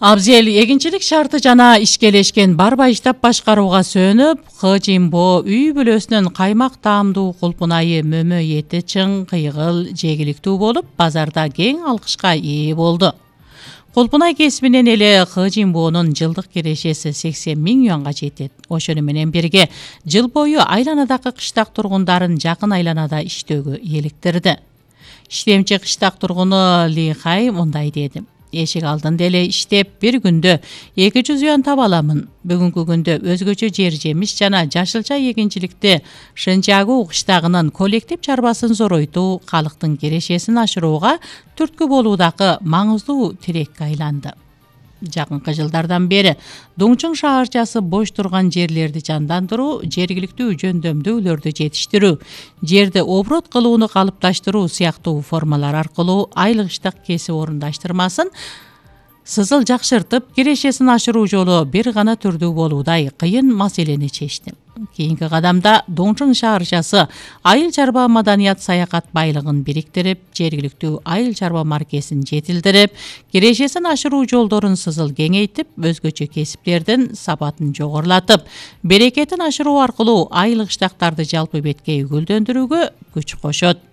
Абзел эгинчилик шарты жана ишкелешкен барбай иштеп башкарууга сөөнүп, Хыжимбо үй бүлөсүнүн каймак таамдуу кулпунайы, мөмө эти чың, кыйгыл, жегиликтүү болуп, базарда кең алкышка ээ болду. Кулпунай кесибинен эле Хыжимбонун жылдык кирешеси 80 000 юанга жетет. Ошону менен бирге жыл бою айланадагы кыштак тургундарын жакын айланада иштөөгө иликтирди. Иштемчи кыштак тургуну Ли Хай мындай деди: эшик алдында эле иштеп, бир күндө 200 юан таба аламын. Бүгүнкү күндө өзгөчө жер жемиш жана жашылча эгинчиликти Шынчагуу кыштагынын коллектив чарбасын зоройтуу, калктын кирешесин ашырууга түрткү болуудагы маңыздуу тилекке айланды. Жакынкы жылдардан бери Дуңчуң шаарчасы бош турган жерлерди жандандыруу, жергиликтүү жөндөмдүүлөрдү жетиштирүү, жерди оборот кылууну калыпташтыруу сыяктуу формалар аркылуу айлыктык кесип орундаштырмасын сызыл жакшыртып, кирешесин ашыруу жолу бир гана түрдүү болуудай кыйын маселени чечти. Кийинки кадамда Дуңчуң шаарчасы айыл чарба маданият саякат байлыгын бириктирип, жергиликтүү айыл чарба маркесин жетилдирип, кирешесин ашыруу жолдорун сызыл кеңейтип, өзгөчө кесиптердин сапатын жогорулатып, берекетин ашыруу аркылуу айыл кыштактарды жалпы бетке үгүлдөндүрүүгө күч кошот.